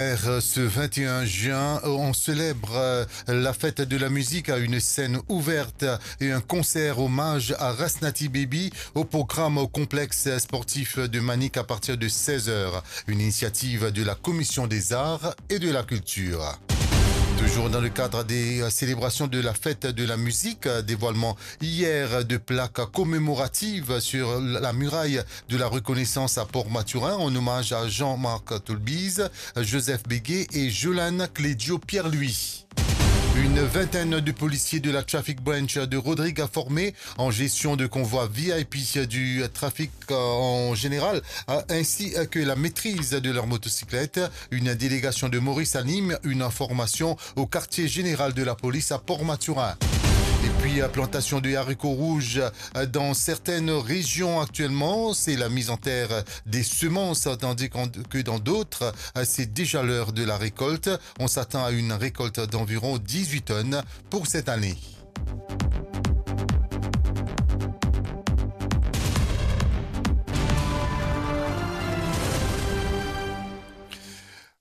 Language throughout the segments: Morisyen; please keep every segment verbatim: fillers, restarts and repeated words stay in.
Er, ce vingt et un juin, on célèbre, euh, la fête de la musique à une scène ouverte et un concert hommage à Rasnati Baby au programme au complexe sportif de Manic à partir de seize heures. Une initiative de la Commission des Arts et de la Culture. Toujours dans le cadre des, euh, célébrations de la fête de la musique, euh, dévoilement hier de plaques commémoratives sur la muraille de la reconnaissance à Port-Mathurin en hommage à Jean-Marc Tolbize, Joseph Béguet et Jolan Clédio Pierre-Louis. Une vingtaine de policiers de la Traffic Branch de Rodrigues formés en gestion de convois V I P, du trafic, euh, en général, euh, ainsi que la maîtrise de leur motocyclette. Une délégation de Maurice anime une formation au quartier général de la police à Port-Mathurin. Et puis, euh, plantation de haricots rouges, euh, dans certaines régions actuellement, c'est la mise en terre des semences, tandis qu'en, que dans d'autres, euh, c'est déjà l'heure de la récolte. On s'attend à une récolte d'environ dix-huit tonnes pour cette année.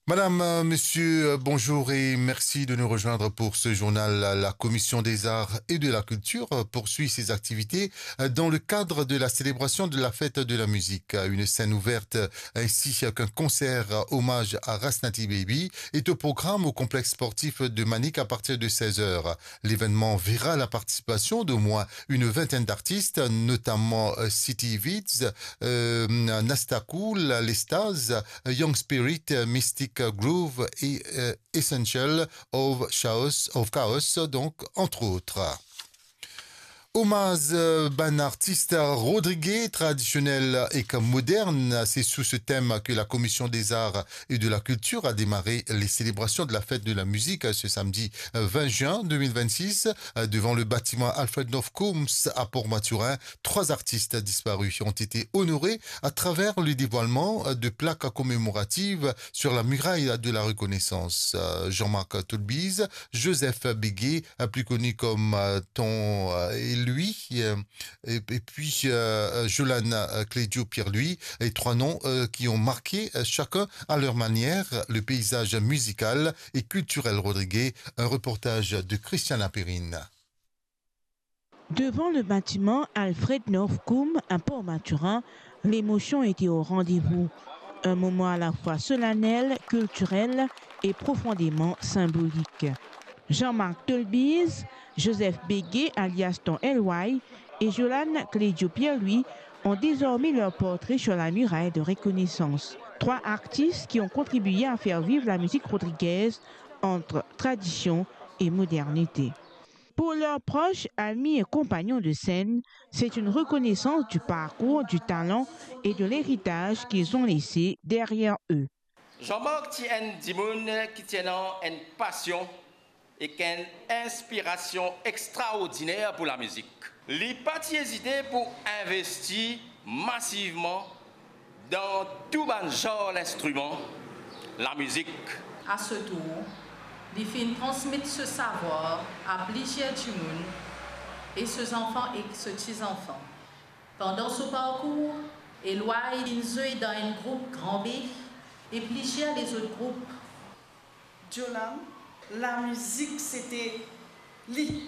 Madame, euh, monsieur, euh, bonjour et merci de nous rejoindre pour ce journal. La, la Commission des Arts et de la Culture, euh, poursuit ses activités, euh, dans le cadre de la célébration de la fête de la musique. Euh, une scène ouverte, euh, ainsi qu'un concert, euh, hommage à Rasnati Baby est au programme au complexe sportif de Manic à partir de seize heures. L'événement verra la participation d'au moins une vingtaine d'artistes, notamment, euh, City Vids, euh, Nasta Cool, Les Staz, Young Spirit, Mystic Groove et, euh, Essential of Chaos, of Chaos, donc, entre autres. Hommage, euh, bann artis rodrigué, tradisionel ek modern, c'est sous ce thème que la Commission des Arts et de la Culture a démarré les célébrations de la fête de la musique, euh, ce samedi, euh, vingt juin deux mille vingt-six, euh, devant le bâtiment Alfred North Coombs à Port-Mathurin. Trois artistes disparus ont été honorés à travers le dévoilement, euh, de plaques commémoratives sur la muraille de la reconnaissance. Euh, Jean-Marc Tolbize, Joseph Béguet, euh, plus connu comme, euh, Ton, euh, et lui, euh, et, et puis, euh, euh, Jolan, euh, Clédio Pierre-Louis, et trois noms, euh, qui ont marqué, euh, chacun à leur manière, le paysage musical et culturel rodrigué. Un reportage de Christiana Perrine. Devant le bâtiment Alfred North Coombs à Port-Mathurin, l'émotion était au rendez-vous. Un moment à la fois solennel, culturel et profondément symbolique. Jean-Marc Tolbize, Joseph Béguet alias Ton L Y et Jolan Clédio Pierre-Louis ont désormais leur portrait sur la muraille de reconnaissance. Trois artistes qui ont contribué à faire vivre la musique rodriguaise entre tradition et modernité. Pour leurs proches, amis et compagnons de scène, c'est une reconnaissance du parcours, du talent et de l'héritage qu'ils ont laissé derrière eux. Jean-Marc ti enn dimoun ki ti ena enn pasion ek enn inspirasion extraordiner pou lamizik. Li pa ti ezite pou investi masivman dan tou bann zar linstriman lamizik. A so tour, li finn transmet so savwar a plizier dimoun e so zanfan ek so ti zanfan. Pandan so parkour, Elway inn zwe dan enn group Gran Be e plizier lezot group. Jolan, lamizik sete li.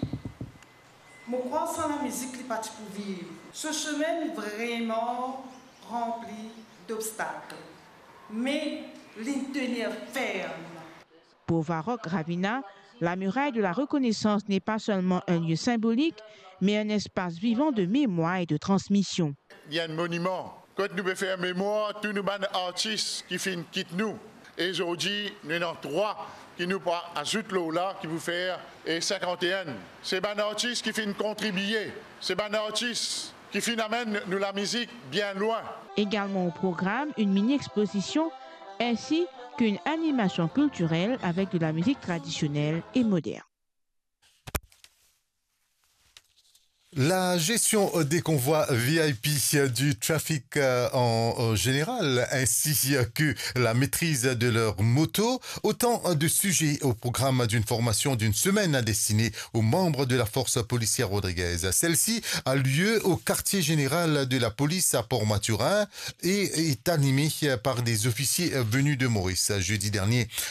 Mo krwar san lamizik li pa ti pou viv. So semin vreman ranpli dobstak, me li tenir ferm. Pour Varrock Ravina, la muraille de la reconnaissance n'est pas seulement un lieu symbolique, mais un espace vivant de mémoire et de transmission. Li enn moniman kot nou pe fer memwar tou nou bann artis ki finn kit nou. E zordi, nou ena trwa ki nou pou azout lor la, ki pou fer, e, sinkant-e-enn. Se bann artis ki finn kontribie, se bann artis ki finn amenn nou lamizik bien lwin. Également au programme, une mini-exposition ainsi qu'une animation culturelle avec de la musique traditionnelle et moderne. La gestion des convois V I P, du trafic, euh, en, en général, ainsi que la maîtrise de leurs motos, autant de sujets au programme d'une formation d'une semaine destinée aux membres de la force policière rodriguaise. Celle-ci a lieu au quartier général de la police à Port-Mathurin et est animée par des officiers venus de Maurice. Jeudi dernier,